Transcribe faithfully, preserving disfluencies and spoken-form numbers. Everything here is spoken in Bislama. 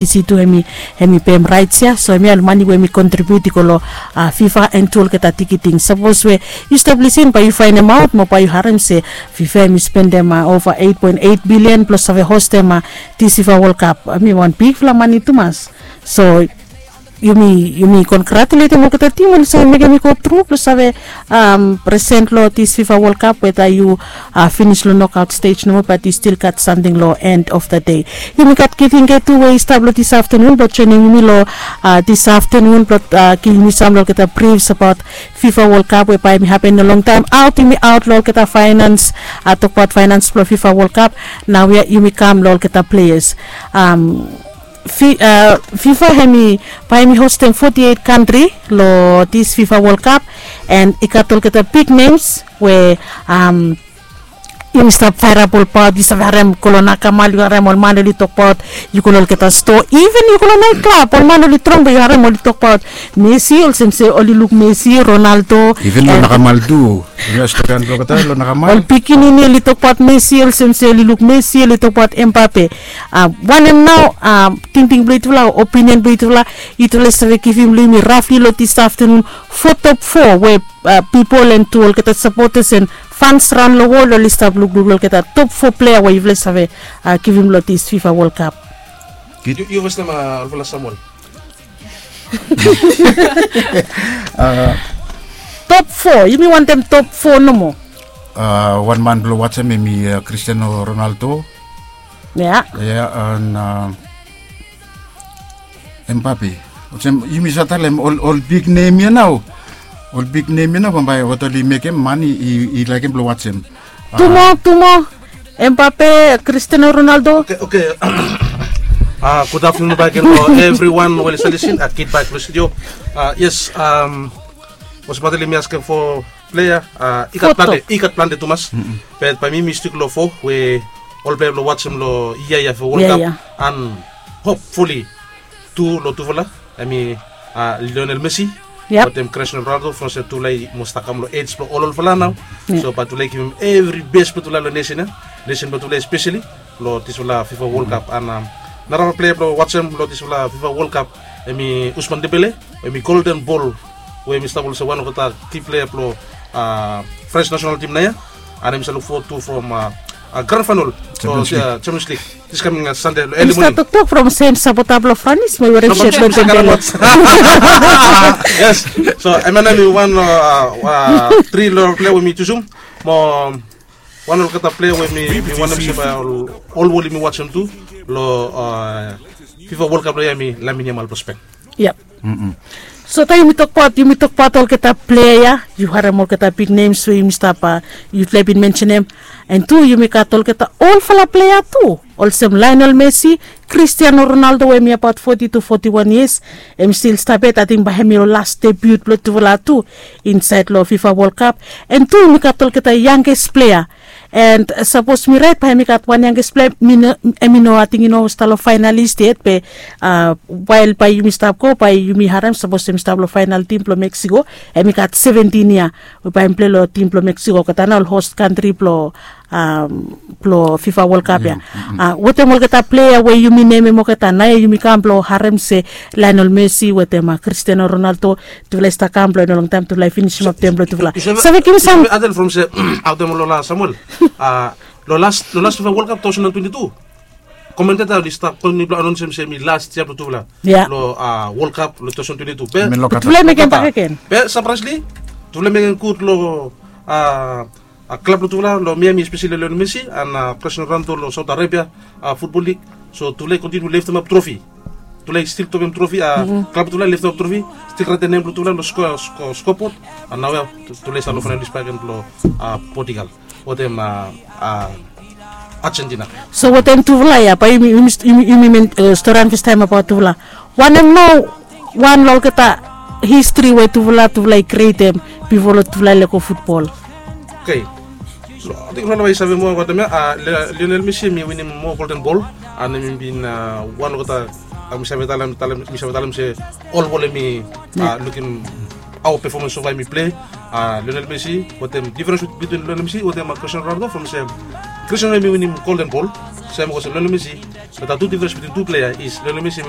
Isi tu hemi hemi pem raits ya, so hemia ol mani we hemi kontribiut i go long fifa and tu olgeta tikiting. Sapos we yu stap lisin bae yu faenemaot mo bae yu harem se fifa hemi spendem ova eit poen eit bilian blong save hostem dis fifa wol kap. Hemi wan bigfala mani tumas. So yumi yumi kongratuletem olgeta tim oli save mekem i go tru blong save present long dis fifa wol kap weta yu finis long nokaot stej nomo bat yu stil gat samting long end of the day. Yumi gat giving ge tu we i stap long dis aftanun blong joinim yumi long dis aftanun blong givim yumi sam long olgeta brifs abaot fifa wol kap we bae hemi hapen long longtaem aot yumi aot long olgeta faenans. Tokbaot faenans blong fifa wol kap. Nao ya yumi kam long olgeta pleas. Fifa hemi bae hemi hostem foti eit kantri long dis fifa wol kap. And i gat olgeta big nems we yumi stap faerap olbaot yu save harem go long nakamal yu harem ol man oli tokbaot yu go long olgeta stoa even yu go long naet klab ol man oli trong be yu harem oli tokbaot messi olsem se oli luk messi ronaldo. Even long nakamal tu. Ol pikinini oli tokbaot messi olsem se oli luk messi oli tokbaot empape. Wanem nao tingting blong yutufala o opinion blong yutufala? Yutufala i save givim long yumi rafli long dis aftanun fo top fo we pipol and tu olgeta sapotas and fans raon long wol oli stap lukluk long olgeta top fo plea we yufala i save givim long dis fifa wol kap. Yu fes nama olfala samuel. Top fo yumi wantem top fo nomo. Wan man blong watsem hemi kristiano ronaldo. Ya ya an empape olsem yumi save talem ol big nem ya nao. Ol big nem ya nao bambae wat oli mekem man i laikim blong watsem. Tumo tumo empape kristiano ronaldo. Oke oke. Gud aftanun baik gen long evriwan we oli save lisin a kid baik long studio. Yes. Olsem bat oli mi askem fo plea i gat plante tumas. Bat bae mi mistik long fo we ol plea blong watsem long yia ya fo wol kap an hopfuli tu long tufala. Hemi lionel messi watem cristiano ronaldo from se tufala i mos stap kam long ej blong ol olfala nao. So bat tufala i givim evri bes blong tufala long nesen ya, nesen blong tufala espeseli long disfala fifa wol kap an narafala plea blong watsem long disfala fifa wol kap hemi usman debele. Hemi golden bol we hemi stap olsem wan olgeta ki plea blong frens nasenal tim nao ya. An hemi save luk fowad tu from gran faenal long champions lig. Dis kaming sande long eli moning. Toktok from sem sapota blong franis mo i werem set long tembele. Yes. So hemia nao hemi wan long tri long plea we mi jusum mo wan olgeta plea we mi wantem se bae ol wol yumi watsem tu long fifa wol kap long ya hemi lamin yamal blong spen. Yep. So taem yumi tokbaot yumi tokbaot olgeta plea ya yu harem olgeta big nems we yumi stap yufala i bin mensenem. An tu yumi gat olgeta olfala plea tu olsem lionel messi, cristiano ronaldo we hemi abaot foti tu foti wan yias. Hemi stil stap yet ating bae hemi long las debiut blong tufala tu insaed long fifa wol kap. An tu yumi gat olgeta yanges plea. And sapos mi rait bae hemi gat wan yanges plea hemi no ating i no stap long faenalis yet be wael bae yumi stap go bae yumi harem sapos hemi stap long faenal tim blong meksiko. Hemi gat seventin yia we bae hemi plei long tim blong meksiko olgeta nao ol host kantri blong blong fifa wol kap ya. Wetem olgeta plea we yumi nemem olgeta nao ya yumi kam blong harem se lionel messi wetem cristiano ronaldo. Tufala i stap kam blong i no longtaem tufala i finisimap tem blong tufala. Save givim sam. Atel from se aotem long las samuel long las long las fifa wol kap taosen an twenti tu. Komenteta oli stap kontiniu blong anonisem se mi las yia blong tufala long wol kap long taosen an twenti tu be tufala i mekem bak agen. Be sapraisli tufala i mekem gud long klab blong tufala long miami espeseli lionel messi an president ronaldo long saut arabia futbol lig. So tufala i kontiniu leftemap trofi. Tufala i stil topem trofi a klab blong tufala i leftemap trofi. Stil raetem nem blong tufala long skopot. An naoia tufala i stap long faenalis bakegen blong portugal wetem argentina. So wetem tufala ya bae yumi men storan festaem abaot tufala. Wanem nao wan long olgeta histri we tufala tufala i krietem bifo long tufala i lego futbol? Oke. Ating ol bai save moa watem ya. Lionel messi mi winim moa golden bol an mi bin wan olgeta mi save talem talem mi save talem se ol bol mi lukim awa pefomans sofa mi plei. Lionel messi watem diferens bitwin lionel messi watem cristiano ronaldo from se cristiano mi winim golden bol. Sem olsem Lionel Messi, but a tu difrens between tupela ya is Lionel Messi em